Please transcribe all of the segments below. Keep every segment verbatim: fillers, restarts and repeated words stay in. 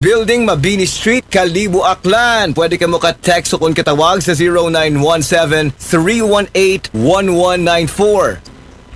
Building, Mabini Street, Kalibo, Aklan. Pwede kamo ka-text o kun katawag sa zero nine one seven, three one eight, one one nine four.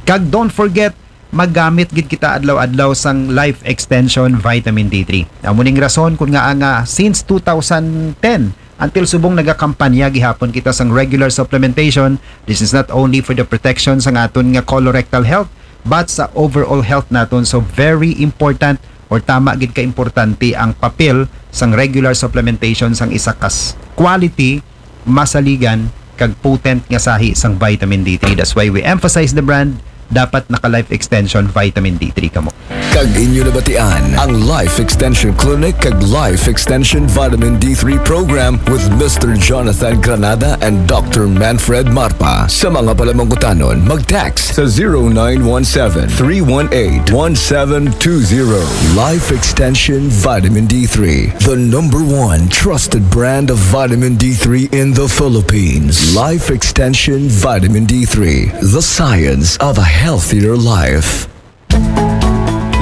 Kag don't forget, maggamit gid kita adlaw-adlaw sang Life Extension Vitamin D three. Amo ning rason kun ngaa nga since two thousand ten until subong nagakampanya gihapon kita sang regular supplementation. This is not only for the protection sang aton nga colorectal health, but sa overall health naton. So very important or tama gid ka importante ang papel sang regular supplementation sang isa ka s- quality, masaligan, kag potent nga sahi sang vitamin D three. That's why we emphasize the brand. Dapat naka Life Extension Vitamin D three kamo. Kag inyo nabatian ang Life Extension Clinic kag Life Extension Vitamin D three Program with Mister Jonathan Granada and Doctor Manfred Marpa. Sa mga palamangkutanon, mag-text sa zero nine one seven, three one eight, one seven two zero. Life Extension Vitamin D three, the number one trusted brand of vitamin D three in the Philippines. Life Extension Vitamin D three, the science of a healthier life.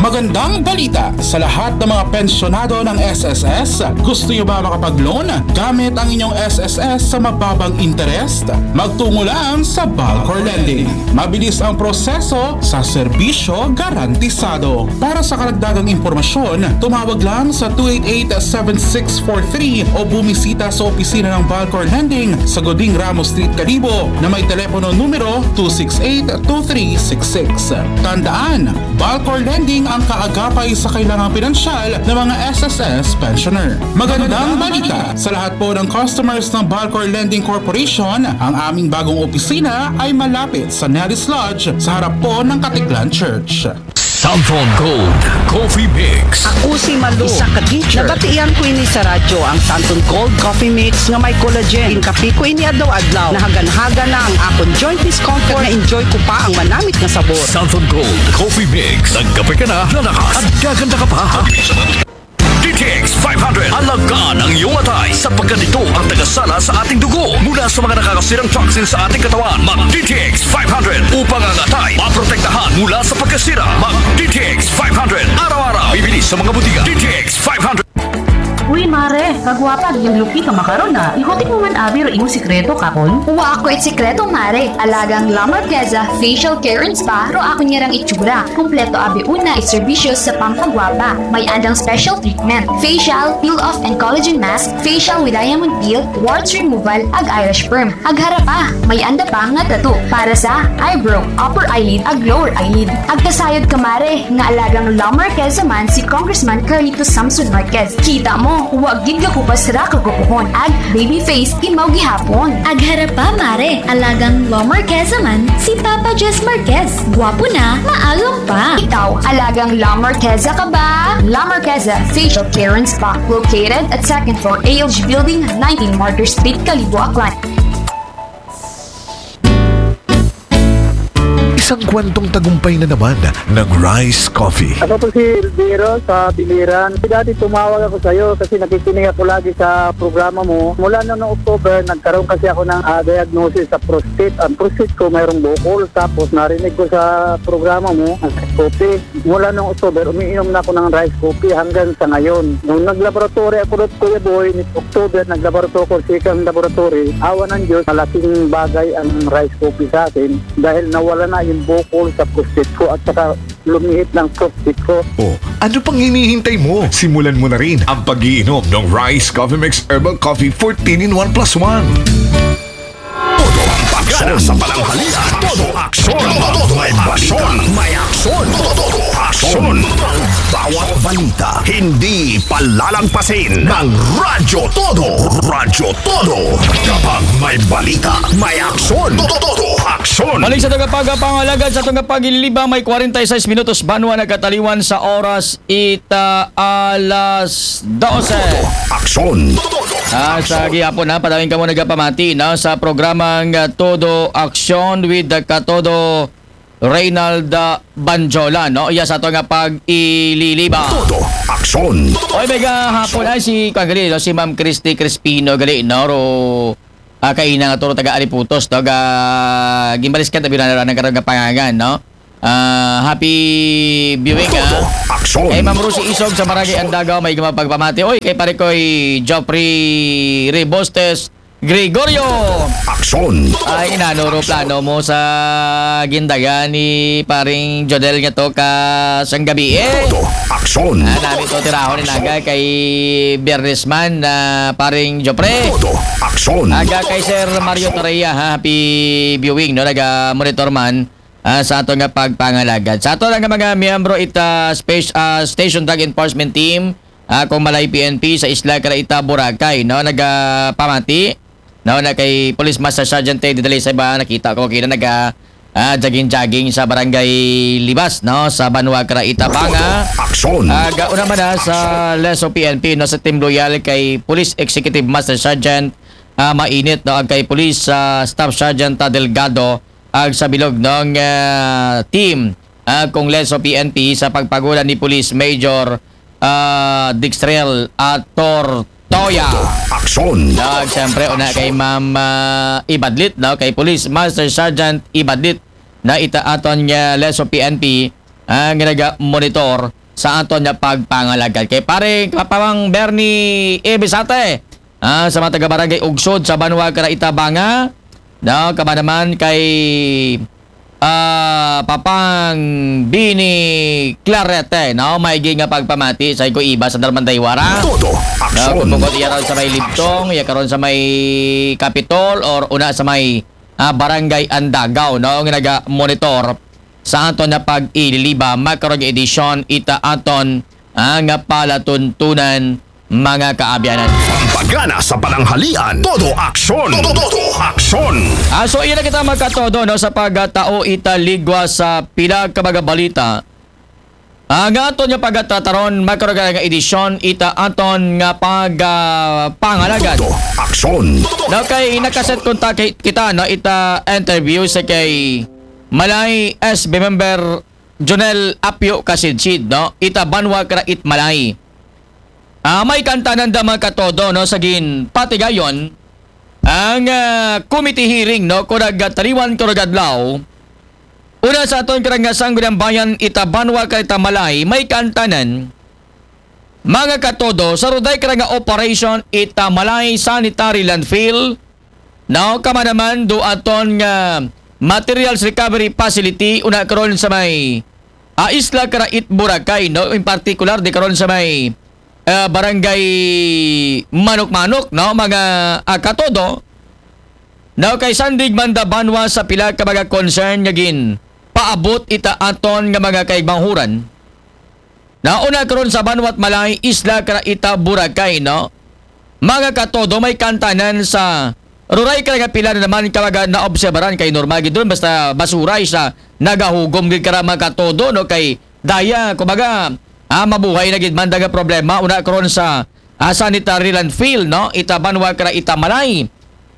Magandang balita sa lahat ng mga pensyonado ng S S S. Gusto nyo ba makapag-loan gamit ang inyong S S S sa mababang interest? Magtungo lang sa Balcor Lending. Mabilis ang proseso sa serbisyo garantisado. Para sa karagdagang impormasyon, tumawag lang sa two eight eight, seven six four three o bumisita sa opisina ng Balcor Lending sa Goding Ramos Street, Kalibo na may telepono numero two six eight, two three six six. Tandaan, Balcor Lending ang kaagapay sa kailangang pinansyal ng mga S S S pensioner. Magandang balita sa lahat po ng customers ng Balcor Lending Corporation. Ang aming bagong opisina ay malapit sa Nelly's Lodge sa harap po ng Katiklan Church. Samson Gold Coffee Mix. Ako si Malu, isa ka teacher. Nabatian ko ini sa radyo, ang Santon Gold Coffee Mix nga may collagen. Ginkape ko ini adlaw-adlaw. Nahagan-hagan na ang akon joint discomfort. Na-enjoy ko pa ang manamit nga sabor. Samson Gold Coffee Mix. Nagkape ka na, lalakas at gaganda ka pa. D T X five hundred. Alagaan ang iyong atay sapagkat ito ang tagasala sa ating dugo mula sa mga nakakasirang toxin sa ating katawan. Mag D T X five hundred upang ang atay maprotektahan mula sa pagkasira. Mag D T X five hundred araw-araw. Bibili sa mga butika. D T X five hundred. Uy, mare, kagwapa, gin-lucky ka makaron na. Ihutik mo man abi ro imong sikreto, kapon? Wa ako it sikreto, mare. Alagang La Marqueza Facial Care and Spa ro akon ngarang itsura. Kompleto abi una it serbisyo sa pampagwapa. May andang special treatment: facial, peel-off and collagen mask, facial with diamond peel, warts removal, ag eyelash perm. Ag harapa, may anda pa nga tattoo para sa eyebrow, upper eyelid, ag lower eyelid. Ag kasayod ka, mare, nga alagang La Marqueza man si Congressman Carlito Samson Marquez. Kita mo, wa gid gakupas ra kagwapohon. Ag baby face, imaw gihapon. Ag harapa, mare, alagang La Marqueza man si Papa Jess Marquez. Gwapo na, maagom pa. Ikaw, alagang La Marqueza ka ba? La Marqueza Facial Care and Spa, located at second floor A L G Building, nineteen Martyr Street, Kalibo, Aklan. Isang kwentong tagumpay na naman ng Rice Coffee. Ako po si Elviro sa Biliran. Dati tumawag ako sa iyo kasi nakikinig ako lagi sa programa mo. Mula noong October, nagkaroon kasi ako ng ah, diagnosis sa prostate. Ang prostate ko mayroong bukol. Tapos narinig ko sa programa mo, ang Rice Coffee. Mula noong October, umiinom na ako ng Rice Coffee hanggang sa ngayon. Nung nag-laboratory ako doon, Kuya Boy, ni October, nag-laboratory ako sa isang laboratory. Awa ng Diyos, malaking bagay ang Rice Coffee sa akin dahil nawala na yung bukol sa prostate ko at saka lumiit ng prostate ko. Oh, ano pang hinihintay mo? Simulan mo na rin ang pag-iinom ng Rice Coffee Mix Herbal Coffee fourteen in one plus one. Todo aksyon sa pananghalian. Todo aksyon. Todo aksyon. May aksyon. Todo aksyon. Ang bawat balita, hindi palalagpasin ng Radyo Todo. Radyo Todo. Kapag may balita, may aksyon. Todo, todo aksyon. Balik sa tagapagpangalagad sa atong pagililibang, may kwarenta y seis minutos banwa nagkataliwan sa oras ita alas dose. Todo aksyon. Ah, sa gihapon na, padawin kamo nagapamati na sa programang ah, Todo Aksyon with the Katodo Reynald ah, Banjola, no? Iya sa ato nga pag-ililiba. Todo aksyon. Oy, may gahapon ay si, kuwan gali, no? Si Ma'am Christy Crispino gali, no? Ro, ah, kaina nga turo taga Aliputos, no? Ga, gimbalis ka, tabi na karon nga pangangan, no? Ah, happy viewing, ah. Aksyon. Kay Ma'am Rosie Isog sa Barangay Andagaw, may mga pagpamati. Oy, kay pare ko'y Geoffrey Rebostes Gregorio. Aksyon. Ay, inanuro plano mo sa gindagan ni paring Jodel nga to ka sang gabi eh. Todo. Aksyon. Ah, nami to tirahon ni naga kay Biyernes man na paring Jopre. Todo. Aksyon. Aga kay Sir Mario Torreya, ha, happy viewing, no? Naga-monitor man ah, sa ato nga pagpangalagad. Sa ato nga mga miyembro ita space, ah, Station Drug Enforcement Team, ah, kung malay P N P sa isla kara ita Boracay, no? Nagapamati, no? Na kay Police Master Sergeant Teddy Dalisay ba, nakita ko kina naga ah, jogging-jogging sa Barangay Libas, no? Sa Banwa kara ita Banga. Aksyon. Aga una man na sa Leso P N P, no? Sa Team Loyal kay Police Executive Master Sergeant ah, Mainit, no? Ag kay Police ah, Staff Sergeant ah, Delgado, ag sa bilog ng ah, team ah, kung Leso P N P sa pagpagulan ni Police Major ah, Dixtrel Atortoya. Aksyon. Ag siyempre, una kay Ma'am ah, Ibadlit, no? Kay Police Master Sergeant Ibadlit na ita aton nga Leso P N P ang naga-monitor sa aton nga pagpangalagad. Kay pare Kapawang Bernie Ebisate, ah, sa mga taga-barangay Ugsod sa Banwa kara ita Banga, no? Kama naman kay ah, Papang Bini Clarete, no? Maigi nga pagpamati sa ko iba sa Darmandaywara. Todo. No, Aksyon. kung bukod iya ron sa may Libtong, iya karon sa may Capitol or una sa may ah, Barangay Andagaw, no? Nga naga-monitor sa aton na pag-ililiba, makaron nga edisyon ita aton ah, nga palatuntunan, mga kaabyanan. Pampagana sa pananghalian. Todo aksyon. Todo, todo aksyon. Ah, so, iya na kita magkatodo, no, sa pagtao ita ligwa sa pila ka mga balita. Ah, nga aton nga pagtataron, makaron nga edisyon ita aton nga pag ah, pangalagad. Todo aksyon. No, kay nakaset kontak kay- kita, no, ita interview sa kay Malay S B member Jonel Apio Kasidsid, no, ita Banwa kara it Malay. Ah, may kantanan da mga katodo, no, sa gin patigayon ang ah, committee hearing, no, kung nagtaliwan ko nagadlaw. Una sa aton karang nga Sangguniang Bayan ita Banwa kara ita Malay, may kantanan mga katodo sa ruday kara nga operation ita Malay Sanitary Landfill, no, kama naman do aton nga materials recovery facility una karon sa may ah, isla kara it Boracay, no, in particular di karon sa may ah, barangay Manok-Manok, no, mga ah, katodo. No, kay sandig man da Banwa sa pila ka mga concern nga gin paabot ita aton nga mga kaigmanghuran. Nauna karon sa Banwa at Malay, isla kara ita Boracay, no? Mga katodo, may kantanan sa ruray kara nga pila na naman ka mga naobserbaran kay normal gid ron, basta basura isa nagahugom gid kara mga katodo, no? Kay daya, kumbaga, ah, mabuhay na gid man da nga problema, una karon sa ah, sanitary landfill, no? Ita Banwa kara ita Malay.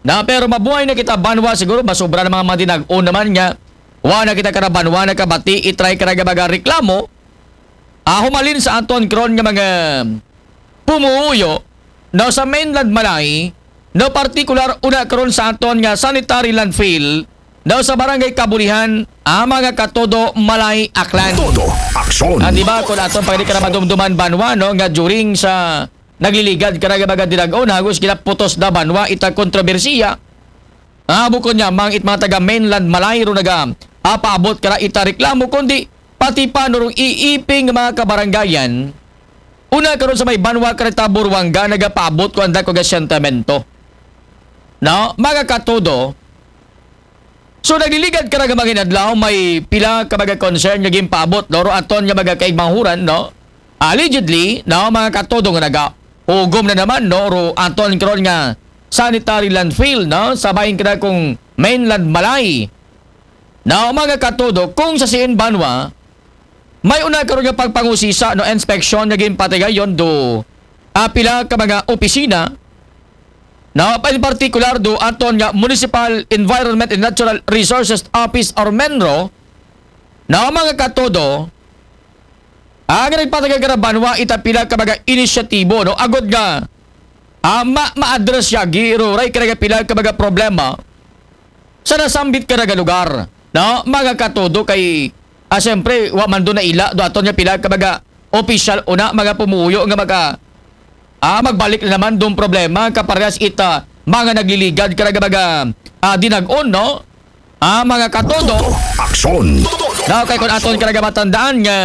Na, pero mabuhay na kita Banwa, siguro masubra na mga madinag-on naman nga. Wa na kita kara Banwa nakabati, itry kara nga mga reklamo. Ah, humalin sa aton karon nga mga pumuuyo, no, sa mainland Malay, no, partikular una karon sa aton nga sanitary landfill, no, sa barangay Kabulihan, ah, mga katodo Malay Aklan. Todo aksyon. Ah, di ba, kung aton pag di ka na madumduman Banwa, no, nga during sa nagliligad kara nga mga dinag-on, hagos ginaputos na Banwa ita kontrobersiya. Ah, bukod niya, mang it mga taga mainland Malay ro naga apaabot kara ita reklamo, kundi pati pa no rong iiping nga mga kabarangayan. Una karon sa may Banwa kara ita Buruanga nagapaabot ko ang dako nga sentimento. No, mga katodo. So, nagliligad kara nga mga inadlaw, may pila ka mga concern nga ginpaabot, no, ro aton nga mga kaigmanghuran, no? Allegedly, no, mga katodo nga naga hugom na naman, no, ro aton karon nga sanitary landfill, no, sa bahin kara kung mainland Malay. No, mga katodo, kung sa siin Banwa, may una karon nga pagpangusisa, no, inspeksyon nga ginpatigayon do ah, pila ka mga opisina, no, in particular do aton nga Municipal Environment and Natural Resources Office or menro, no, mga katodo, ang nagpatagal ka na Banwa ita pila ka mga inisyatibo, no, agod nga ah, ma ma-address ya giro ray ka nga pila ka mga problema sa nasambit ka nga lugar, no, mga katodo, kay Ah, siyempre, wa man do naila do aton nga pila ka mga opisyal una, mga pumuyo nga maga-, ah, magbalik na naman dong problema kaparehas ita mga nagliligad kara mga, ah, dinag-on, no? Ah, mga katodo. Aksyon. No, kay kung aton kara matandaan nga,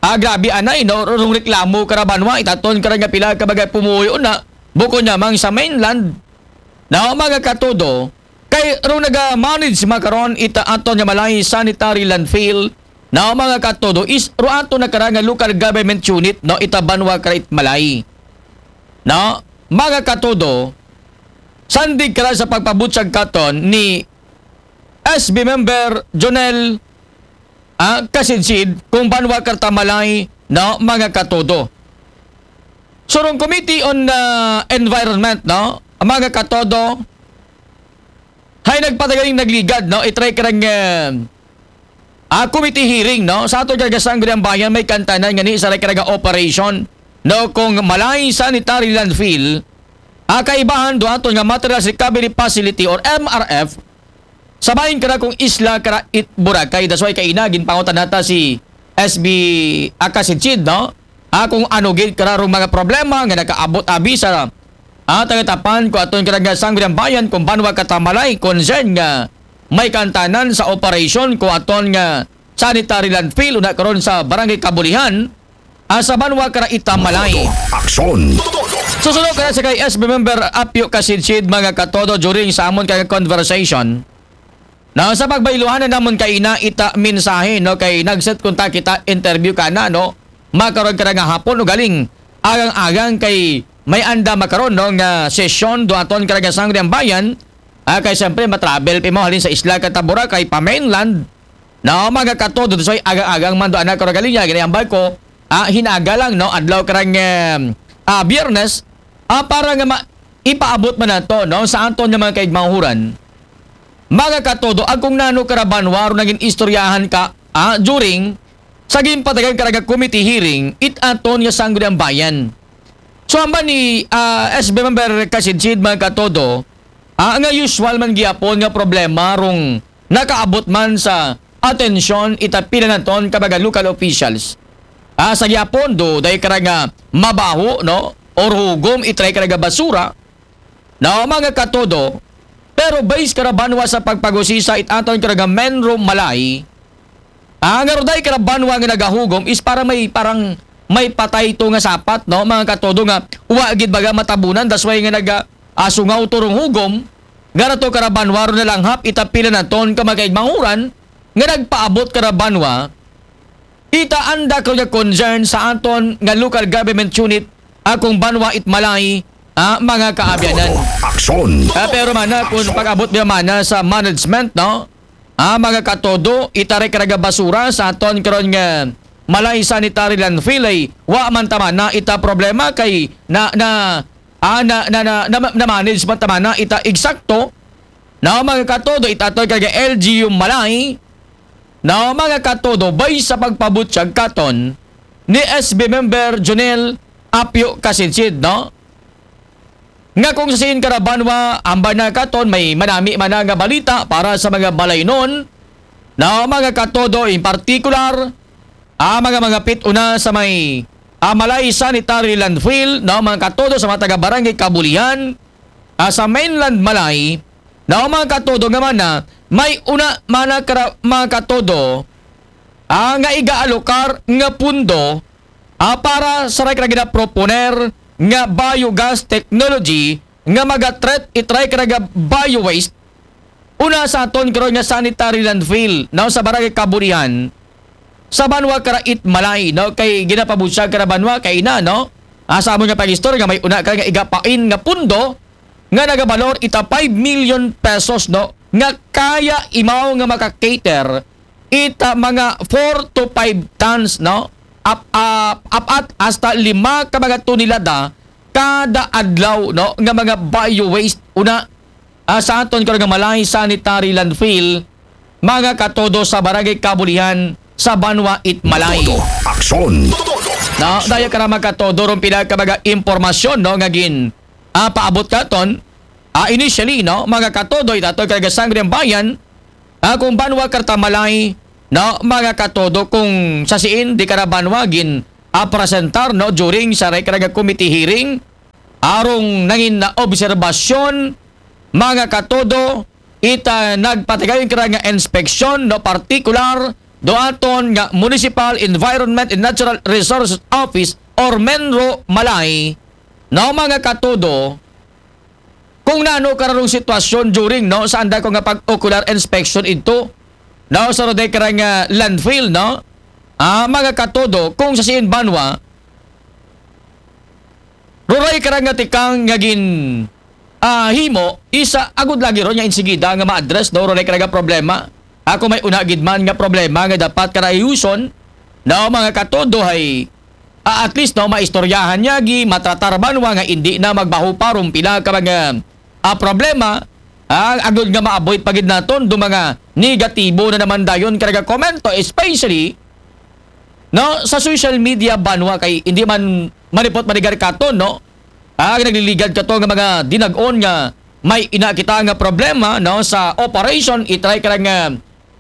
ah, grabe anay, no? Rong reklamo kara banwa, itaton kara nga pila ka mga pumuyo na, bukod namang sa mainland, no, mga katodo, kay rong naga-manage makaron ita aton nga Malay Sanitary Landfill, no, mga katodo, is ro ato na kara nga local government unit, no, ita banwa kara it Malay. No, mga katodo, sandig kara sa pagpabutyag katon ni S B member Jonel, ah, Kasidsid, kung banwa kara ta Malay, no, mga katodo. So, rong Committee on, ah, Environment, no, mga katodo, hay nagpatagaling nagligad, no, itry karang, eh, ah, committee hearing, no, sa aton kara Sangguniang Bayan, may kantanan nga ni sa kara operation, no, kung Malay Sanitary Landfill, ah, kaibahan do aton nga Materials Recovery Facility or M R F, sa bahin kara kung isla kara it Boracay. That's why kaina ginpangutan nata si S B Akasidsid, no? Ah, kung ano gid kara rong mga problema nga nakaabot abi sa, ah, tagatapan ko aton kara nga Sangguniang Bayan kung banwa kara ta Malay, concern nga may kantanan sa operasyon ko aton nga sanitary landfill una karon sa Barangay Kabulihan, ah, sa banwa kara ita Malay. Aksyon. Susunod kara sa kay S B member Apio Kasidsid, mga katodo, during sa amon kay conversation. No, sa pagbayluhan na namon kaina ita mensahe, no, kay nag-set kontak kita interview kana, no, makaron kara nga hapon, ugaling agang-agang kay may anda makaron, no, nga sesyon do aton kara nga Sangguniang Bayan. Ah, kay siyempre matravel pa mo halin sa isla kara ta Boracay pa mainland. No, mga katodo, so agang-agang man do anak kara galing niya, ginayambal ko, ah, hinaga lang, no, adlaw karang, em, ah, Biyernes, ah, para nga ma-, ipaabot man nato, no, sa aton nga mga kaigmahuran. Mga katodo, ang kung nano kara banwa ro naging istoryahan ka, ah, during sa ginpatagan kara nga committee hearing, it aton nga Sangguniang Bayan. So, hamba ni, ah, S B member Kasidsid, mga katodo, ah, nga usual man gihapon nga problema rong nakaabot man sa atensyon ita pila naton ka mga local officials. Ah, sa gihapon, do, dahil kara nga mabaho, no? Or hugom, itry kara nga basura. No, mga katodo, pero base kara banwa sa pagpagusisa it aton kara nga Menro Malay, ah, nga ruday kara banwa nga nagahugom is para may, parang may patay to nga sapat, no? Mga katodo nga, wa gid baga matabunan, that's why nga naga, ah, sungaw to rong hugom, nga rato kara banwa ro nalanghap, ita pila naton ka mga kaigmahuran, nga nagpaabot kara banwa, ita anda ko nga concern sa aton nga local government unit, akong banwa it Malay, ah, mga kaabyanan. Aksyon. Ah, pero mana, kung pag-abot niya mana sa management, no? Ah, mga katodo, itaray kara nga basura sa aton karon nga Malay Sanitary Landfill ay wa man ta mana ita problema kay na, na, ah, na, na, na, na, na-manage man ta mana ita eksakto. No, mga katodo, ita aton kara nga L G U Malay. No, mga katodo, bay sa pagpabutyag katon ni S B member Jonel Apio Kasidsid, no? Nga kung sa siin kara banwa, hamba na katon, may manami mana nga balita para sa mga balaynon. No, mga katodo, in particular, ah, mga, mga pit una sa may, ah, Malay Sanitary Landfill, no, mga katodo sa mga taga Barangay Kabulihan, ah, sa mainland Malay, no, mga katodo nga mana, may una mana kara-, mga katodo, ah, nga iga-alokar nga pundo, ah, para sa ray kara ginaproponer nga biogas technology nga maga-treat itray kara nga bio waste una sa aton karon nga sanitary landfill, no, sa Barangay Kabulihan, sa banwa kara it Malay, no, kay ginapabutyag kara banwa kay ina, no, ah, sa amon nga pag-istorya nga may una kara nga igapain nga pundo nga nagabalor ita five million pesos, no, nga kaya imaw nga maka-cater ita mga four to five tons, no? Ap-, ap-, apat hasta lima ka mga tonelada kada adlaw, no, nga mga bio waste una, ah, sa aton karon nga Malay Sanitary Landfill, mga katodo, sa Barangay Kabulihan sa banwa it Malay. Aksyon. No, daya kara mga katodo, rong pila ka mga impormasyon, no, nga gin, ah, paabot katon. Ah, initially, no, mga katodo, ita aton kara nga Sangguniang Bayan, ah, kung banwa kara ta Malay, no, mga katodo, kung sasiin di kara banwa gin-apresentar, no, during sa rekara nga committee hearing, arong nangin na obserbasyon, mga katodo, ita nagpatigayon kara nga inspeksyon, no, partikular do aton nga Municipal Environment and Natural Resources Office or menro Malay, no, mga katodo, kung nano kararong sitwasyon during, no, sa anda ko nga pag-ocular inspection ito, no, sa roday kara nga landfill, no, ah, mga katodo, kung sasiin banwa, ruray kara nga tikang nga gin, ah, himo, isa agud lagi ron nga insigida nga ma-address, no, ruray kara nga problema. Ako may una gid man nga problema nga dapat kara ayuson, no, mga katodo, hay, ah, at least, no, maistoryahan niya gi, matratar banwa nga hindi na magbaho pa rong pila ka mga, ah, problema, ah, agud nga ma-avoid pa gid naton do mga negatibo na naman dayon kara nga komento, especially, no, sa social media banwa kay hindi man manipot manigar katon, no, ah, nagliligad kato nga mga dinag-on nga may ina kita nga problema, no, sa operation, itry kara nga,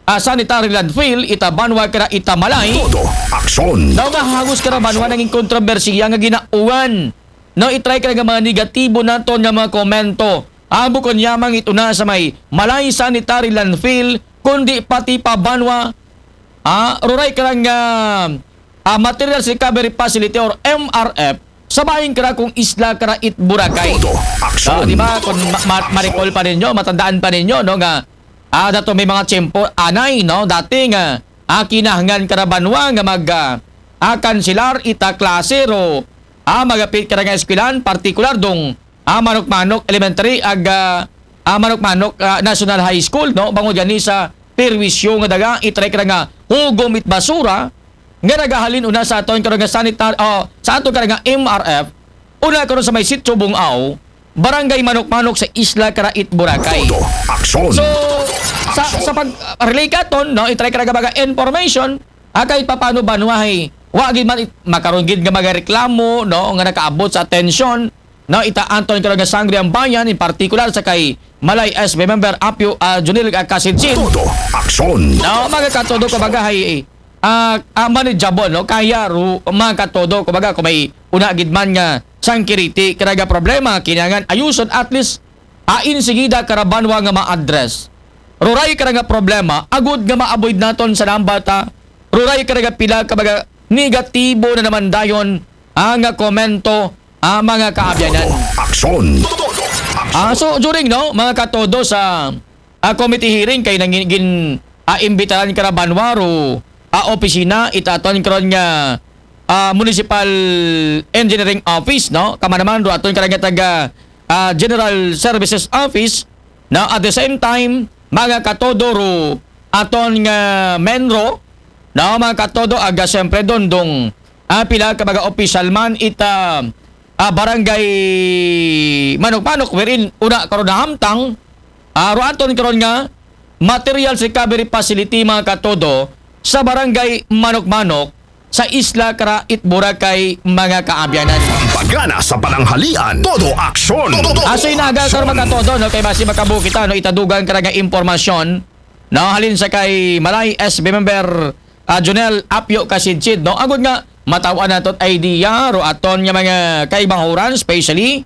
ah, sanitary landfill ita banwa kara ita Malay. Todo aksyon. Daw nga hagos kara banwa nanging kontrobersiya nga ginauwan, no, itry kara nga mga negatibo naton nga mga komento. Ang bukon yamang ito na sa may Malay sanitary landfill, kundi pati pa banwa, ah, ruray kara nga, ah, materials recovery facility or M R F sa bahin kara kung isla kara it Boracay. Todo aksyon. Ah, di ba? Kung ma- ma- ma-recall pa ninyo, matandaan pa ninyo, no, nga, ah, dato may mga tiyempo anay, no, dati nga, ah, kinahanglan kara banwa nga mag, ah, ah, kansilar ita klase ro, ah, magapit kara nga eskwelahan, partikular dong, ah, Manok-Manok Elementary ag, ah, ah, Manok-Manok, ah, National High School, no, bangod gani sa perwisyo nga daga, itry kara nga hugom it basura nga nagahalin una sa aton kara nga sanitar-, oh, sa aton kara nga M R F, una karon sa may Sitio Bungao, Barangay Manok-Manok sa isla kara it Boracay. Todo aksyon. So, sa, sa pag-relay katon, no, itry kara nga mga information, ah, kahit papano banwa hay, wa gid man it-, makaron gid nga mga reklamo, no, nga nakaabot sa atensyon, no, ita aton kara nga Sangguniang Bayan, in particular sa kay Malay S B member Apyo, ah, Junil, ah, Kasidsid. Todo aksyon. No, mga katodo, kumbaga hay, ah, ah, manageable, no? Kaya ru-, mga katodo, kumbaga, kung may una gid man nga sangkiriti kara nga problema, kinahanglan ayuson, at least, ah, insigida kara banwa nga ma-address. Ruray kara nga problema, agud nga ma-avoid naton sa nambata, ruray kara nga pila ka mga negatibo na naman dayon, ah, nga komento, ah, mga kaabyanan. Aksyon. Ah, so, during, no, mga katodo, sa, ah, committee hearing kay nangin-, gin, ah, imbitaran kara banwa ro, ah, opisina ita aton karon nga, ah, Municipal Engineering Office, no? Kama naman ro aton kara nga taga, ah, General Services Office, no? At the same time, mga katodo ro aton nga menro, no, mga katodo, aga siyempre don dong, ah, pila ka mga opisyal man ita, ah, barangay Manok-Manok, wherein una karon nahamtang, ah, ro aton karon nga materials recovery facility, mga katodo, sa barangay Manok-Manok sa isla kara it Boracay, mga kaabyanan. Pagana sa pananghalian, todo aksyon. Aso inaga karon, mga katodo, no, kay basi makabukita, no, itadugang kara nga impormasyon, no, halin sa kay Malay S B member, ah, Jonel Apyo Kasidsid, no, agud nga mataw-an naton idea ro aton nga mga kaibahuran, especially,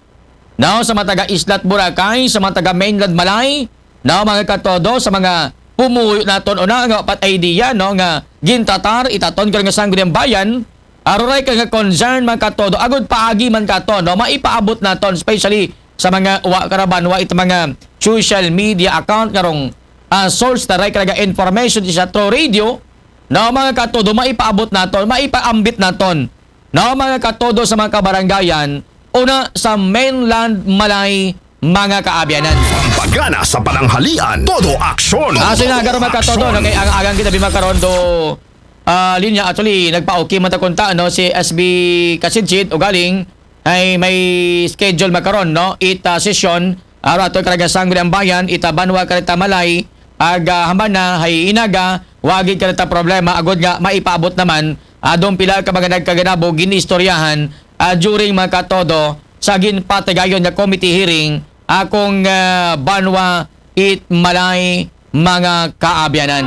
no, sa mga taga Isla it Boracay, sa mga taga mainland Malay, no, mga katodo, sa mga pumuyo naton una nga pat idea, no, nga gintatar ita aton kara nga Sangguniang Bayan, ah, ruray kara nga concern, mga katodo, agud paagi man katon, no, maipaabot naton, especially sa mga wa kara banwa ita mga social media account nga rong, ah, source ta ray kara nga information sa through radio, no, mga katodo, maipaabot naton, maipaambit naton, no, mga katodo, sa mga kabarangayan, una sa mainland Malay, mga kaabyanan. Pagana sa pananghalian, todo aksyon. Ah, so inaga ro, mga katodo, no, kay ang agang kita bimakaron do, ah, linya, actually, nagpa-okay man ta kunta, no, si S B Kasidsid, ugaling, ay may schedule makaron, no, it, ah, session, aro ato karaga Sangguniang Bayan, ita banwa karita Malay, ag, ah, hambana, hay inaga, wa gid karita problema, agud nga, maipaabot naman, adong pila ka mga nagkaganabo, ginistoryahan, ah, during, mga katodo, sa ginpatigayon nga committee hearing, akong, ah, banwa, it Malay, mga kaabyanan.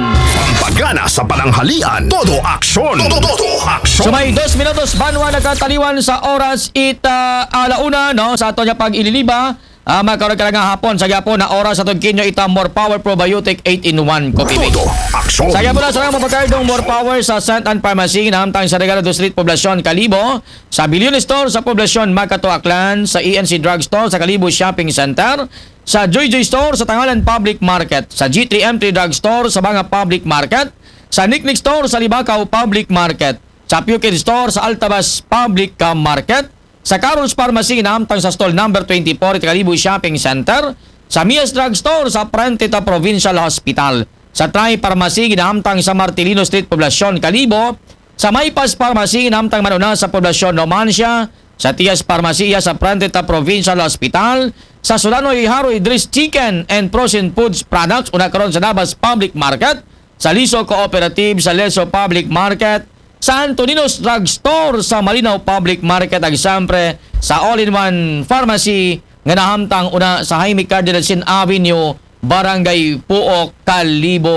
Gana sa pananghalian, todo aksyon. Todo, todo aksyon. So may dos minutos banwa nakataliwan sa oras ita alauna, no? Sa ato niya pag-ililiba, ah, magkaroon ka na nga hapon sa gyapon na oras sa tugkinyo ita More Power Probiotic eight in one Coffee Mix. Todo aksyon. Sa gyapon na sa mga pagkaidong More Power sa Saint Anne Pharmacy, nahamtang sa Regalado Street, Poblacion, Kalibo, sa Billion Store sa Poblacion, Makato, Aklan, sa E N C Drug Store sa Kalibo Shopping Center, sa Joy Joy Store sa Tangalan Public Market, sa G three M three Drug Store sa Banga Public Market, sa Niknik Store sa Libakaw Public Market, sa Pukid Store sa Altabas Public Market, sa Carol's Pharmacy nahamtang sa stall number twenty-four ita Kalibo Shopping Center, sa Mias Drug Store sa Prantita Provincial Hospital, sa Tri Pharmacy nahamtang sa Martilino Street, Poblacion, Kalibo, sa Maypas Pharmacy nahamtang man una sa Poblacion, Numancia, sa Tias Pharmacia sa Prantita Provincial Hospital, sa Sulanoy Haroy Dris Chicken and Frozen Foods Products, una karon sa Nabas Public Market, sa Liso Cooperative sa Leso Public Market, sa Antonino's Drug Store sa Malinaw Public Market, ag siyempre sa All-in-One Pharmacy nga nahamtang una sa Jaime Cardinal Sin Avenue, Barangay Puok, Kalibo,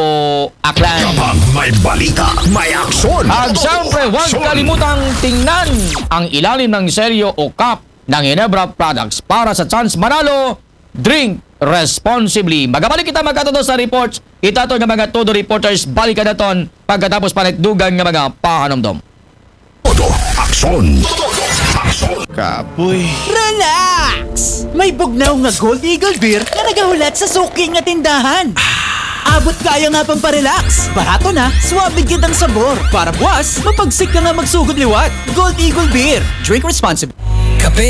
Aklan. Kapag may balita, may aksyon. At siyempre, huwag kalimutang tingnan ang ilalim ng selyo o cap ng Ginebra Products para sa chance manalo. Drink responsibly. Magabalik kita magkatuto sa reports. Itato nga mga todo reporters, balik ka naton pagkatapos panitdugan nga mga pahanumdom. Todo aksyon. Todo aksyon. Kapoy. Relax! May bugnaw nga Gold Eagle Beer nga nagahulat sa suki nga tindahan. Abot kaya nga pang parelax. Barato na, suabe kitang sabor. Para buwas, mapagsik ka nga magsugod liwat. Gold Eagle Beer. Drink responsibly. Kape